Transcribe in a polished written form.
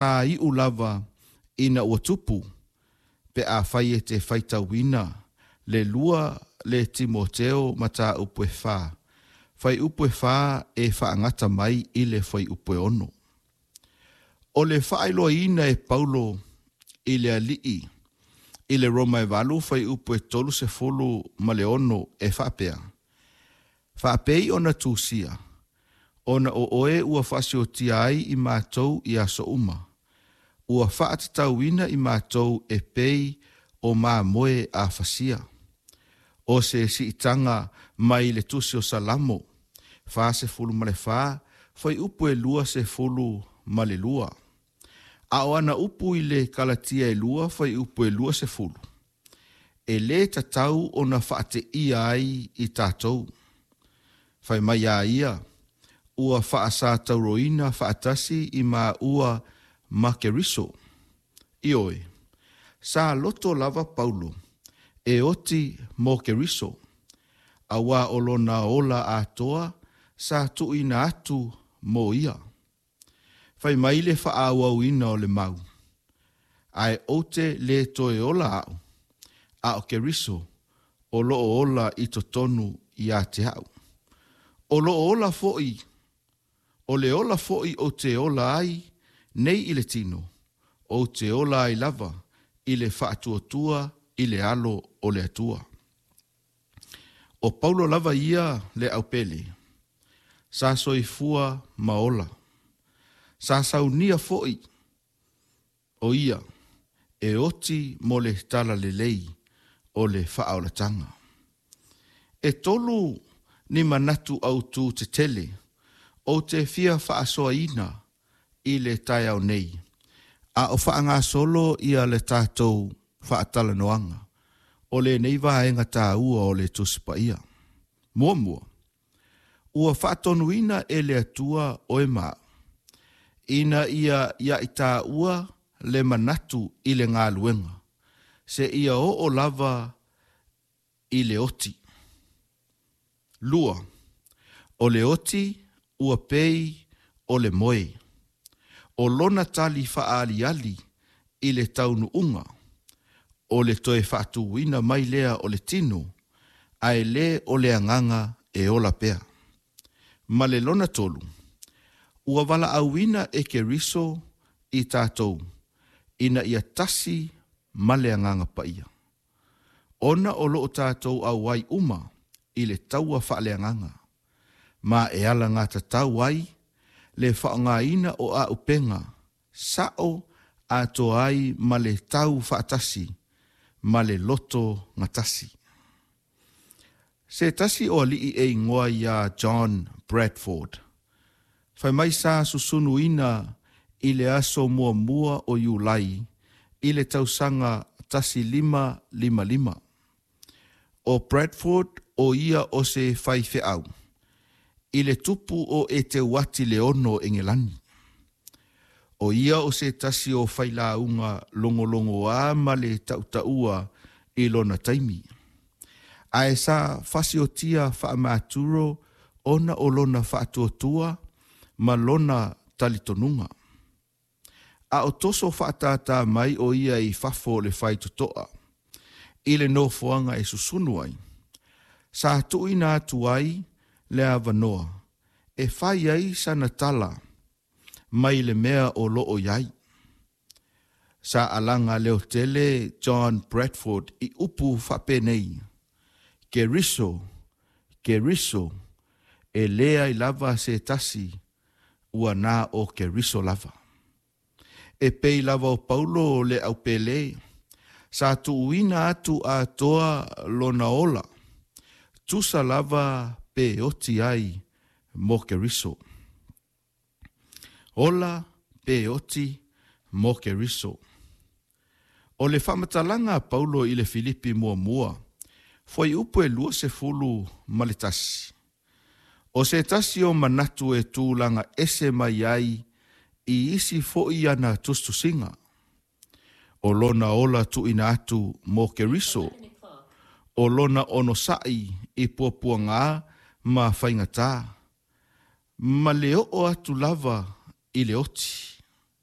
Iu lava ina ua tupu, pe afai e te faitauina le 2 le Timoteo mataupu e 4, fuaiupu e 4 e faagata mai i le fuaiupu e 6. O le faailoaina e Paulo i le alii i le Roma e 8 fuaiupu e 36 e faapea, faapei ona tusia, ona o oe ua faasiotia ai i matou i aso uma, ua faatatauina i matou e pei o mamoe a fasia. O se siitaga mai le tusi o Salamo, 44, fuaiupu e 22. A o ana upu i le Kalatia e 2, fuaiupu e 20. E lē tatau ona faateia ai i tatou. Fai mai a ia, ua faasatauroina faatasi i maua ma Keriso. Ioe, sa loto lava Paulo e oti mo Keriso, auā o lona ola atoa sa tuuina atu mo ia. Fai mai le faaauauina o le mau, ae ou te lē toe ola au, a o Keriso o loo ola i totonu ia te au. O loo ola foi, o le ola foi ou te ola ai nei i le tino, ou te ola ai lava i le faatuatua i le alo o le Atua. O Paulo lava ia le aupele, sa soifua ma ola, sa saunia foi o ia e oti mo le tala lelei o le faaolataga. E tolu ni manatu autū tetele ou te fia faasoaina i le taeao nei, a o faagasolo ia le tatou faatalanoaga o lenei vaega taua o le Tusi Paia. Muamua, ua faatonuina e le Atua oe ma au, ina ia ia i taua le manatu i le galuega, se ia oo lava i le oti. Lua, o le oti ua pei o le moe, o lona tali faaaliali i le taunuuga, o le toe faatuina mai lea o le tino, ae lē o le agaga e ola pea. Ma le lona tolu, ua valaauina e Keriso i tatou, ina ia tasi ma le agaga paia. Ona o loo tatou auai uma i le taua faaleagaga, ma e alagatatau ai le faaaogaina o auupega sao atoa ai ma le tau faatasi ma le loto gatasi. Se tasi o alii e igoa iā John Bradford. Fai mai sa susunuina i le aso 1 o Iulai i le tausaga 1555. O Bradford o ia o se faifeau i le tupu o Eteuati le 6 Engelani. O ia o se tasi o failauga logologoā ma le tautaua i lona taimi. Ae sa fasiotia faamaturo ona o lona faatuatua ma lona talitonuga. A o toso faatātā mai o ia i fafo o le faitotoa, i le nofoaga e susunu ai, sa tuuina atu ai le avanoa e fai ai sana tala mai le mea o loo i ai. Sa alaga leotele John Bradford i upu faapenei, Keriso, Keriso, e leai lava se tasi ua na o Keriso lava. E pei lava o Paulo le aupele, sa tuuina atu atoa lona ola, tusa lava pe oti ai mo Keriso. Ola pe oti mo Keriso. O le faamatalaga a Paulo i le Filipi 1, fuaiupu e 21. O se tasi o manatu e tulaga ese mai ai i isi foi ana tusitusiga. O lona ola tuuina atu mo Keriso, o lona onosai i puapuagā ma faigatā, ma le oo atu lava i le oti.